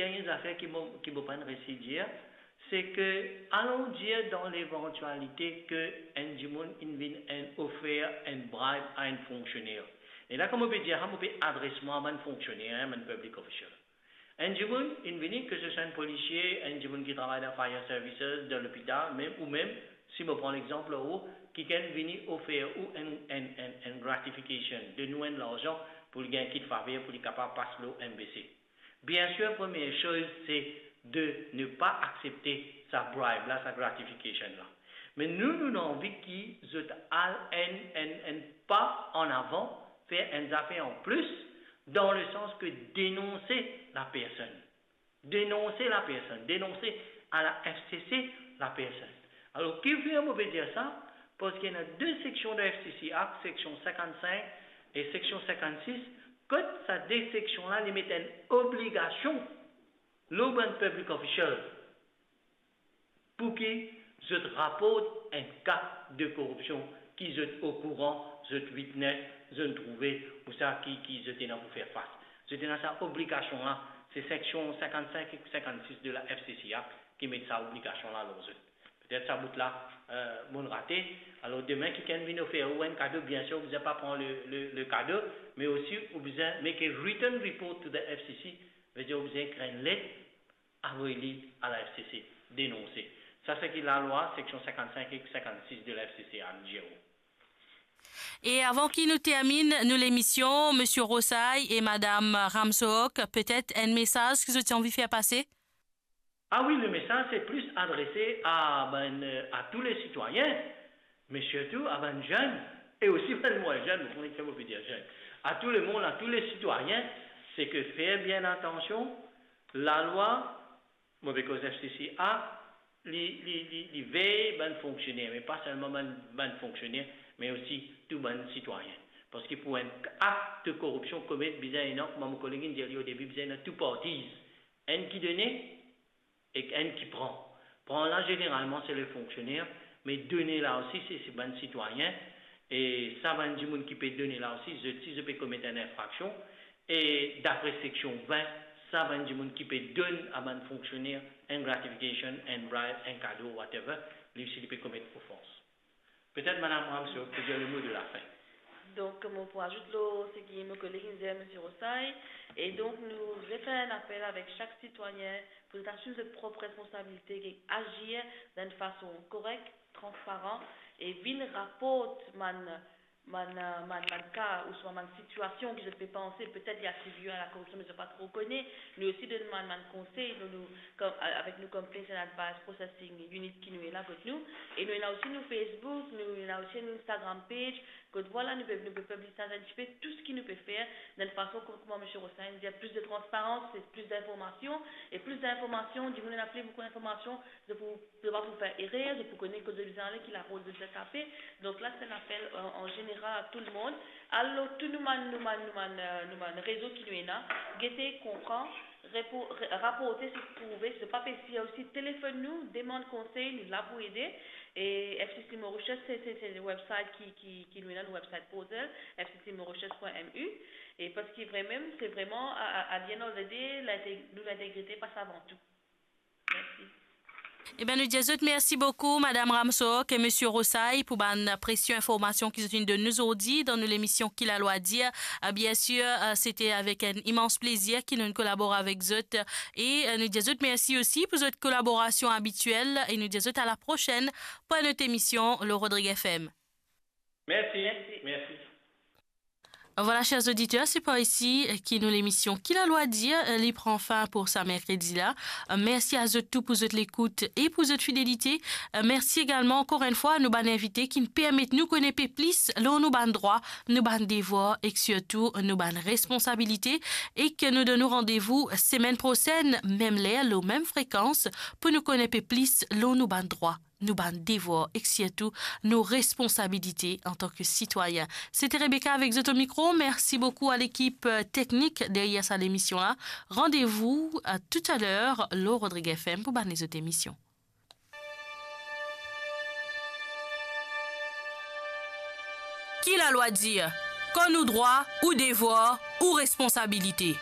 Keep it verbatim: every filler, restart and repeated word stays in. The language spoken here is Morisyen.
Dernie zafer ki mo, ki mo pa'nn resi dir, se ke, alon dir dan levantialite ke enn dimoun inn vinn enn ofer enn bribe a enn fonksioner. E la, kan mo pe dir sa, mo pe adres mwa a bann fonksioner, hein, bann public official. Enn dimoun inn vini, ke se swa enn polisie, enn dimoun ki travay dan fire services, dan lopital, mem, ou mem, si mo pran lexanp lor ou, kikenn vini ofer ou enn, enn, enn, enn gratification, donn ou enn larzan pou li gagn kit faver, pou li kapav pas lor M B C. Bien sûr, première chose, c'est de ne pas accepter sa bribe la, sa gratification la. Me nou, nou, nou anvi ki zot al enn, enn, enn pa an avan, fer enn zafer an plis, dan le sans ke denonse la personn. Denonse la personn, denonse a la F C C la personn. Alor, kifer mo pe dir sa? Parski ena de seksion dan F C C Act, seksion sinkant-sink e seksion sinkant-sis, kot sa de seksion la, li met enn obligasion lor bann public official pou ki zot raport enn ka de koripsion ki zot okouran, zot witness, zot trouve, ou sa ki, ki zot ena pou fer fas. Zot ena sa obligasion la, se seksion sinkant-sink ek sinkant-sis de la F C C Act ki met sa obligasion la lor zot. Petet sa bout la, euh, mo'nn rate. Alor, demin, kikenn vinn ofer ou enn kado, bien sûr, ou bizin pa pran le, le, le kado, me osi ou bizin make a written report to the F C C, vedir ou bizin ekrir enn let, avoy li a la F C C, denonse. Sa, se ki lalwa, seksion sinkant-sink ek sinkant-sis de la F C C a dir ou. E avan ki nou terminn nou lemision, Misie Rosay e Madam Ramsohok, petet enn mesaz ki zot ti anvi fer pase? Ah wi, le mesaz se plis adrese a, ben, euh, a tou le sitwayin, me sirtou a bann zenn, e osi bann mwin zenn, mo konnen ki mo pe dir zenn. A tou lemonn, a tou le sitwayin, se ke fer bien atansion, lalwa, mo pe koz F C C Act, li, li, li, li vey bann fonksioner, me pa selman bann, bann fonksioner, me osi tou bann sitwayin. Parski pou enn akt de koripsion komet, bizin ena, kouma mo koleg inn dir li o debi, bizin ena two parties. Enn ki done, ek enn ki pran. Pran la, zeneralman, se le fonksioner, me done la osi, se, se bann sitwayin, e sa bann dimoun ki pe done la osi, zot, si zot pe komet enn infraksion, e dapre seksion vin, sa bann dimoun ki pe donn a bann fonksioner enn gratification, enn bribe, enn kado, whatever, li osi li pe komet ofans. Petet Madam Ramsohok pe dir le mo de la fin. Donk, mo pou azout lor seki mo koleg inn dir, Misie Rosay, e donk nou refer enn apel avek sak sitwayin pou zot asime zot prop responsabilite, ki azir dan enn fason korek, transparan, e vinn raport bann, bann, bann, bann ka ouswa bann sitiasion ki zot pe panse petet li atribie a la koripsion, me zot pa tro kone. Nou osi donn bann, bann konsey, nou, nou, kom, a-, avek nou Complaints and Advice Processing Unit ki nou ena kot nou. E nou ena osi nou Facebook, nou ena osi nou Instagram page, kot vwala, nou pe, nou pe piblie sa enn tipe, tou seki nou pe fer, dan enn fason, kom, kouma Misie Rosay inn dir, plis de transparans, se plis dinformasion, e plis dinformasion, dimoun ena pli boukou dinformasion, zot pou, zot pa pou fer erer, zot pou kone kot zot bizin ale, ki larol zot bizin tape. Donk la, se enn apel, euh, an zeneral a tou lemonn. Al lor tou nou bann, nou bann, nou bann, euh, nou bann rezo ki nou ena, gete, konpran, repo-, re-, raporte seki trouve, si zot pa pe sir osi, telefonn nou, demann konsey, nou la pou ede. E F C C Mauritius, se, se, se le website ki, ki, ki nou ena, nou website portal, F C C Mauritius point M U. E parski vremem, se vreman, a, a, at the end of the day, linte-, nou lintegrite pas avan tou. Mersi. Eben, nou dir zot mersi boukou, Madam Ramsohok e Misie Rosay, pou bann presie informasion ki zot inn donn nou zordi dan nou lemision Ki Lalwa Dir. Eh, bien sûr, eh, sete avek enn imans plezir ki nou kolabor avek zot. E, eh, nou dir zot mersi osi pou zot kolaborasion abitiel. E nou dir zot a la prosenn pou enn lot emision lor Rodrig F M. Mersi, mersi. Vwala, ser oditer, se par isi ki nou lemision Ki Lalwa Dir, eh, li pran fin pou sa merkredi la. Eh, mersi a zot tou pou zot lekout e pou zot fidelite. Eh, mersi egalman ankor enn fwa nou bann invite ki'nn permet nou kone pe plis lor nou bann drwa, nou bann devwar ek sirtou nou bann responsabilite, ek nou donn nou randevou semenn prosenn, mem ler, lor mem frekans, pou nou kone pe plis lor nou bann drwa, nou bann devwar ek sirtou nou responsabilite antan ki sitwayin. Sete Rebecca avek zot o mikro. Mersi boukou a lekip, eh, teknik deryer sa lemision la. Randevou, eh, toutaler lor Rodrig F M pou bann lezot emision. Ki Lalwa Dir? Konn ou drwa, ou devwar, ou responsabilite.